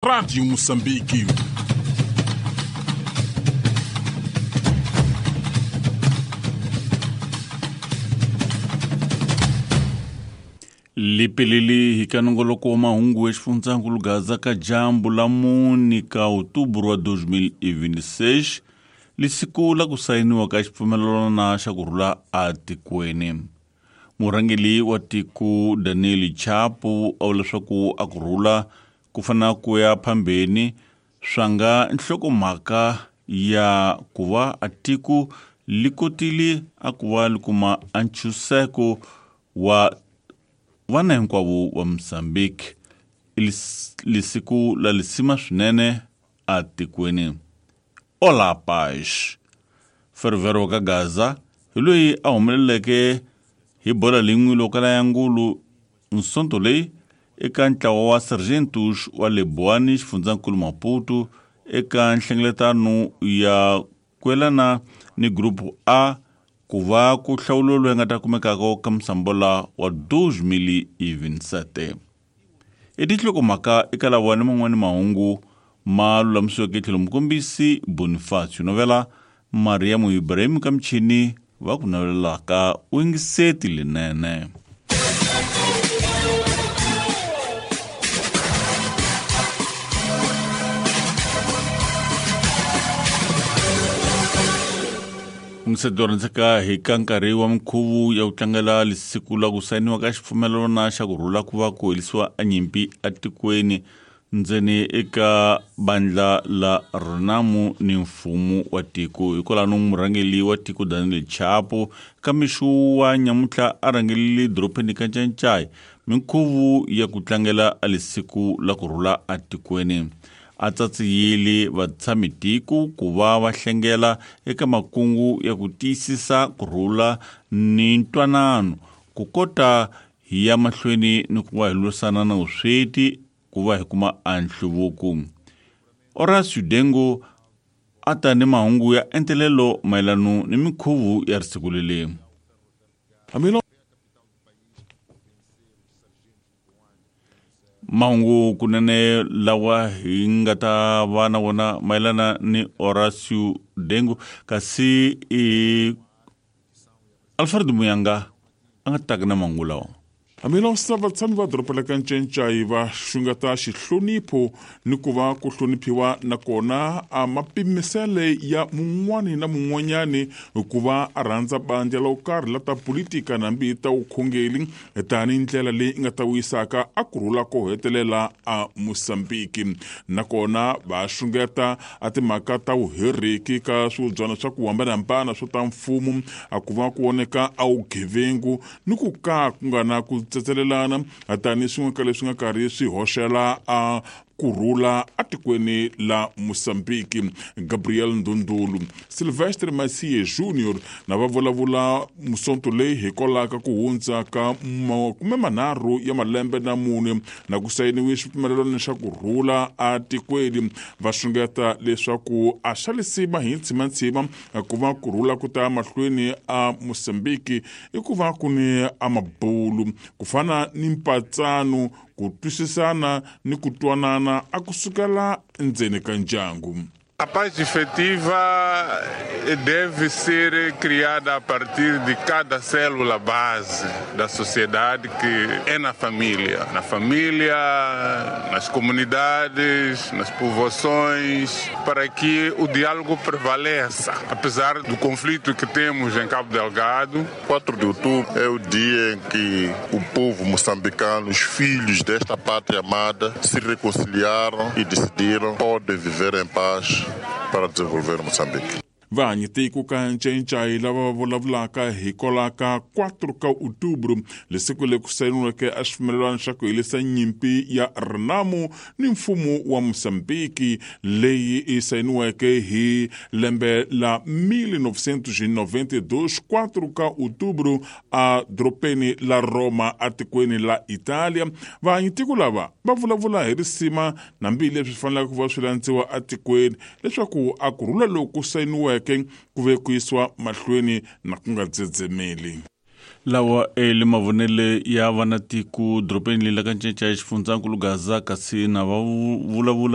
Rádio Moçambique. Lipilili hi ka nongoloko wa mahungu exifundzankulu Gaza ka dyambu la mune ka outubro wa 2026 lisiku la ku sayiniwa ka xipfumelelano xa ku rhula atikweni. Murhangeli wa tiko Daniel Chapo a vula leswaku a ku rhula ku fanele ku ya phambeni swa nga nhlokomhaka ya ku va a tiko li kotile a ku va li kuma a ntshunxeko wa vana hinkwavo va Mozambique lisiku la lisima swinene atikweni. Ola Paz Fervero ka Gaza hi loyi a humeleleke hi bola lin'we lokala ya ngulu nsonto leyi eka ntlawa wa Sargentos wa le Boane xifundzankulu Maputo eka nhlengeletano ya kwelana ni Grupo A ku va ku hlawulo loyi nga ta kumekaka ka musambola wa 2027. I tinhlokomhaka eka lawa ni man'wani mahungu ma lulamisiweke tlhelo mukombisi Bonifacio Novela Mariam Ibrahim ka michini va ku navelelaka u yingiseti linene. Ungiseto rhandzeka hi ka nkarhi wa minkhuvo ya ku tlangela lisiku la ku sayiniwa ka xipfumelelano xa ku rhula ku va ku herisiwa a nyimpi atikweni ndzeni eka bandla la Renamo ni mfumo wa tiko. Hikwalano murhangeli wa tiko Daniel Chapo ka mixo wa nyamuntlha a rhangelile dorobeni ka Ncancai minkhuvo ya ku tlangela a lisiku la ku rhula atikweni. A tsatsiyile vatshami-tiko ku va va hlengela eka makungu ya ku tiyisisa ku rhula ni ntwanano ku kota hi ya mahlweni ni ku va hi lwisana na vusweti ku va hi kuma a nhluvuko. Horacio Dengo a ta ni mahungu ya entelelo mayelano ni minkhuvo ya risiku leli. Mahungu kunene lawa hi nga ta va na wona mayelana ni Horacio Dengo kasi i Alfred Muyanga a nga taka na mahungu lawa. Hambiloko vatshami va doroba la ka Ncancai va xungeta xihlonipho ni ku va ku hloniphiwa nakona a mapimisele ya mun'wani na mun'wanyani ku va a rhandza bandla lo karhi la ta politika nambi ta vukhongeri tanihi ndlela leyi nga ta vuyisaka a ku rhula ko hetelela a Mozambique. Nakona va xungeta a timhaka ta vuheriki ka swivubyana swa ku hambanahambana swo ta mfumo a ku va ku voneka a vugevengu ni ku ka ku nga na ku tsetselelana tanihi swin'we ka leswi nga karhi swi hoxela a ku rhula atikweni la Mozambique. Gabriel Ndundulu, Silvestre Masie Junior na va vulavula musonto leyi hikwalaho ka ku hundza ka 30 ya malembe na mune na ku sayiniwe xipfumelelano xa ku rhula atikweni. Va xungeta leswaku a xa lisima hi ntshimantsima ku va ku rhula ku ta mahlweni a Mozambique i ku va ku ni a mabulu ku fana ni mpatsano ku twisisana ni ku twanana a ku sukela endzeni ka ndyangu. A paz efetiva deve ser criada a partir de cada célula base da sociedade, que é na família. Na família, nas comunidades, nas povoações, para que o diálogo prevaleça. Apesar do conflito que temos em Cabo Delgado. 4 de outubro é o dia em que o povo moçambicano, os filhos desta pátria amada, se reconciliaram e decidiram podem viver em paz para desenvolver Moçambique. Vanhu tiko ka Ncancai lava vulavulaka hikwalaho ka 4 ka outubro lesiku leri ku sayiniweke a xipfumelelano xa ku herisa nyimpi ya Renamo ni mfumo wa Mozambique leyi yi sayiniweke hi lembe la 1992 4 ka outubro a dorobeni la Roma atikweni la Italia. Vanhu tiko lava va vulavula hi risima nambi leswi faneleke ku va swi landziwa atikweni leswaku a ku rhula loku sayiniweke ku ve ku yisiwa mahlweni na ku nga dzedzemeli. Lawa le mavonele ya vanatiko dorobeni leri la ka Ncancai xifundzankulu Gaza kasi na va vulavula